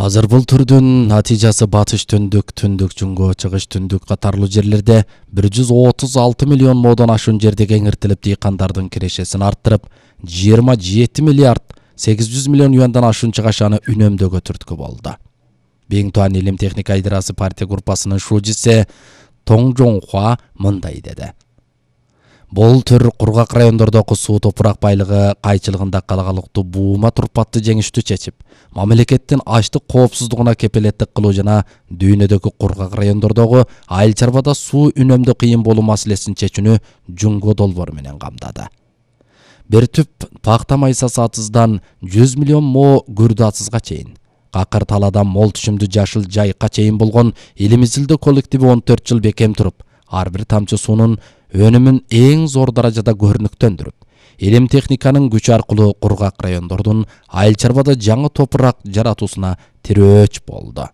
Азыр бул түрдүн натыйжасы батыш түндүк, түндүк жунгу, чыгыш түндүк катарлуу жерлерде 136 миллион модон ашуун жерде кеңиртилип, дыйкандардын кирешесин арттырып, 27 миллиард 800 миллион юандан ашуун чыгашаны үнөмдөөгө түрткү болду. Биңтуан илим техника идырасы партия группасынын шужиси Тоң Жоңхуа мындай деди. Бул түр кургак райондордогу суу топурак байлыгы кайчылыгында калагалыктуу буума турпатты жеңиштүү чечип, мамлекеттин аштык коопсуздугуна кепилеттик кылуу жана дүйнөдөгү кургак райондордогу айыл чарбада суу үнөмдөө кыйын болуу маселесин чечүүнү жунгу долбоор менен камдады. Бир түп пакта майсасы атыздан 100 миллион мо күрдү атызга чейин, какыр таладан мол түшүмдүү жашыл жайыкка чейин болгон илим изилдөө коллективи 14 жыл бекем туруп, ар бир тамчы суунун өнүмүн эң зор даражада көрүнүктөндүрүп, илим техниканын күчү аркылуу кургак райондордун айыл чарбада жаңы топурак жаратуусуна тирөөч болду.